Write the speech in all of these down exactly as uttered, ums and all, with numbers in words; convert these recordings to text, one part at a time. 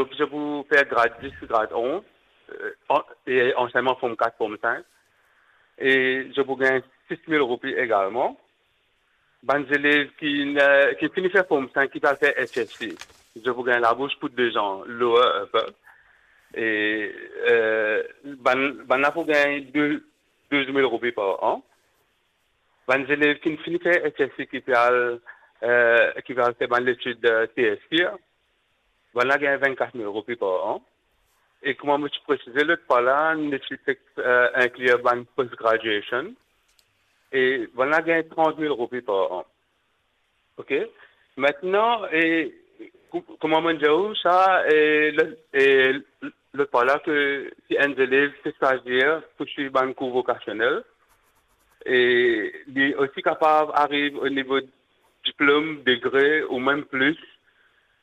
Donk, zot pou fer grad dis, grad onz, euh, an-, e ansegneman form kat, form sink. E zot pou gagn sis mil roupi egalman. Bann zelev ki, euh, ki fini fer form sink, ki pe al fer H S C, zot pou gagn labours pou de zan, lower, upper. E, euh, bann, bann la pou gagn de, douz mil roupi par an. Bann zelev ki fini fer H S C, ki pe al, euh, ki pe al fer bann letid, euh, T S C, bann la gagn vennkat mil roupi par an. E kouma mo ti presize lot fwa la, nou ti pe, euh, inklir bann post graduation. E bann la gagn trant mil roupi par an. Ok? Aster, e, kou-, kouma mo dir ou sa, e, le, e, lot fwa la, ke si enn zelev pe swazir pou swiv bann kour vokasionel, e li osi kapav ariv o nivo diplom, degre ou mem plis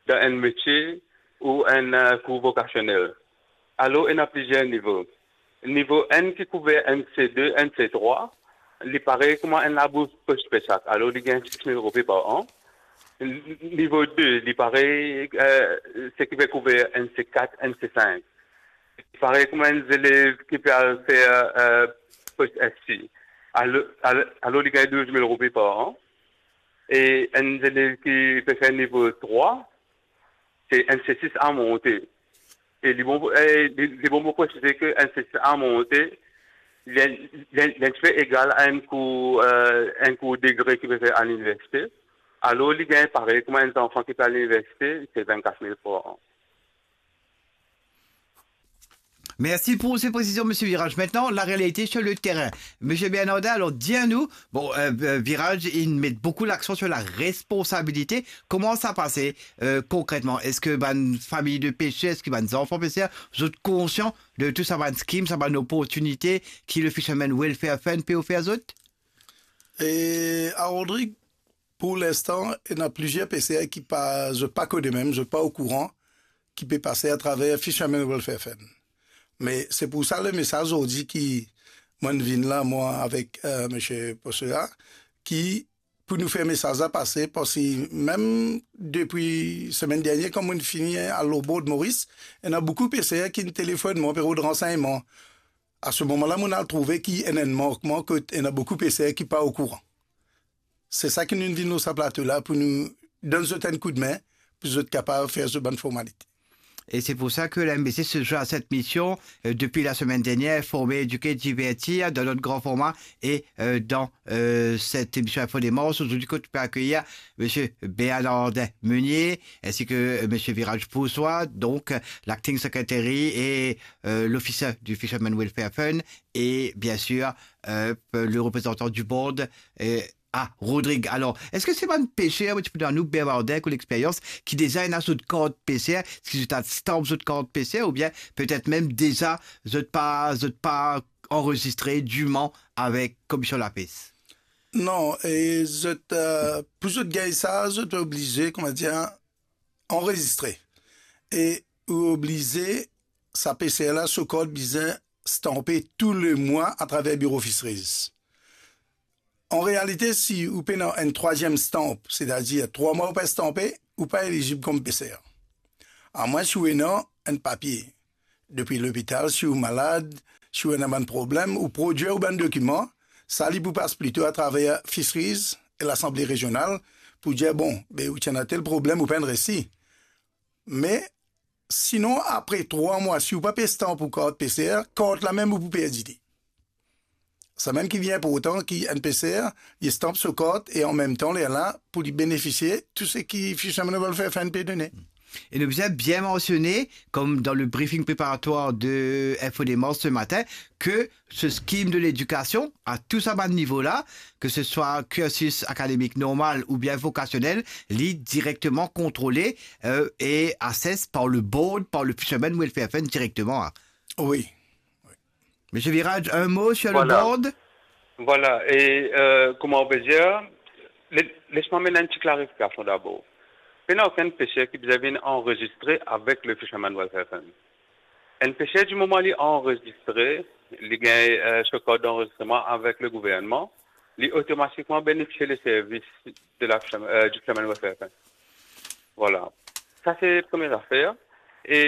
dan enn metie ou enn, euh, kour vokasionel. Alor, ena plizier nivo. Nivo enn ki kouver enn C de, enn C trwa, li parey kouma enn labours post PESAC. Alor, li gagn sis mil roupi par an. N-, nivo de, li parey, euh, seki pe kouver enn C kat, enn C sink. Li parey kouma enn zelev ki pe al fer, euh, post S C. Alor, alor, alor, li gagn douz mil roupi par an. E enn zelev ki pe fer nivo trwa, se enn C sis a monte. E li bon, e li, li bon pou presize ke enn C sis a monte, li, li, li enn tipe egal a enn kour, euh, enn kour degre ki pe fer a liniversite. Alor, li gagn parey kouma enn zanfan ki pe al liniversite, se vennkat mil par an. Mersi pou se presizion, Misie Virage. Aster, larealite sir le terin. Misie Bernardin, alor, dir nou, bon, euh, euh, Virage, li met boukou laksan sir laresponsabilite. Kouma sa pase, euh, konkretman? Eski bann fami de peser, eski bann zanfan peser, zot konsian de tou sa bann skim, sa bann oportinite ki le Fishermen Welfare Fund pe ofer zot? E, a Rodrig, pou linstan, ena plizier peser ki pa, zot pa kone mem, zot pa okouran ki pe pase atraver Fishermen Welfare Fund. Me se pou sa lemesaz zordi ki mo'nn vinn la, mwa avek, euh, Misie Posse la, ki pou nou fer mesaz la pase, parski mem depi semenn dernie, kan mo'nn fini al lor bord Moris, ena boukou peser ki'nn telefonn mwa, pe rod ransegnman. A se moman la, mo'nn al trouve ki ena enn mankman, kot ena boukou peser ki pa okouran. Se sa ki nou vinn lor sa plato la, pou nou donn zot enn koudme, pou zot kapav fer zot bann formalite. E se pou sa ke la M B C se zwe a set mision, euh, depi lasemenn dernie, forme, edike, divertir dan lot gran forma e, euh, dan, euh, set emision Info Demars, zordi kot nou pe akeyir Misie Bernardin Meunier, ensi ke, euh, Misie Virage Poussois, donk, euh, l'acting secretary e, euh, l'officer du Fishermen Welfare Fund, e bien sir, euh, le reprezantan du board, euh, a Rodrig. Alor, eski se bann peser, mo ti pou dir nou, Bernardin, ki lexperyans, ki deza ena zot kart peser, eski zot al stamp zot kart peser, oubien petet mem deza zot pa, zot pa anrezistre diman avek Komisyon Lapes? Non, e zot, euh, pou zot gagn sa, zot oblize, kouma dir, anrezistre. E ou oblize, sa peser la, so kart bizin stanpe tou lemwa atraver biro Fisheries. An realite, si ou pena enn trwaziem stamp, setadir trwa mwa ou pa stanpe, ou pa elizib kom peser. Amwin si ou ena enn papie depi lopital, si ou malad, si ou ena bann problem, ou prodwir ou bann dokiman, sa li pou pas plito atraver Fisheries e Lasanble Rezional pou dir, bon, be ou ti ena tel problem, ou pa'nn resi. Me sinon, apre trwa mwa, si ou pa pe stanp ou kart peser, kart la mem ou pou perdi li. Samem ki vinn inportan, ki enn peser, li stanp so kart e anmemtan, lerla, pou li benefisie tou seki Fishermen Welfare Fund pe done. E nou bizin bien mansione, kom dan le briefing preparatwar de Info Demars se matin, ke se skim de ledikasion a tou sa bann nivo la, ke se swa kirsis akademik normal oubien vokasionel, li direkteman kontrole, euh, e assess par le board, par le Fishermen Welfare Fund direkteman, a. Wi. Misie Virage, enn mo sir le board? Vwala. Vwala. E, euh, kouma ou pe dir, le-, les mwa amenn enn ti klarifikasion dabor. Pena okenn peser ki bizin vinn anrezistre avek le Fishermen Welfare Fund. Enn peser, dimoman li anrezistre, li gagn, euh, so kart d'anrezistreman avek le gouvernman, li otomatikman benefisie le servis de la, euh, du Fishermen Welfare Fund. Vwala. Sa se premie zafer. E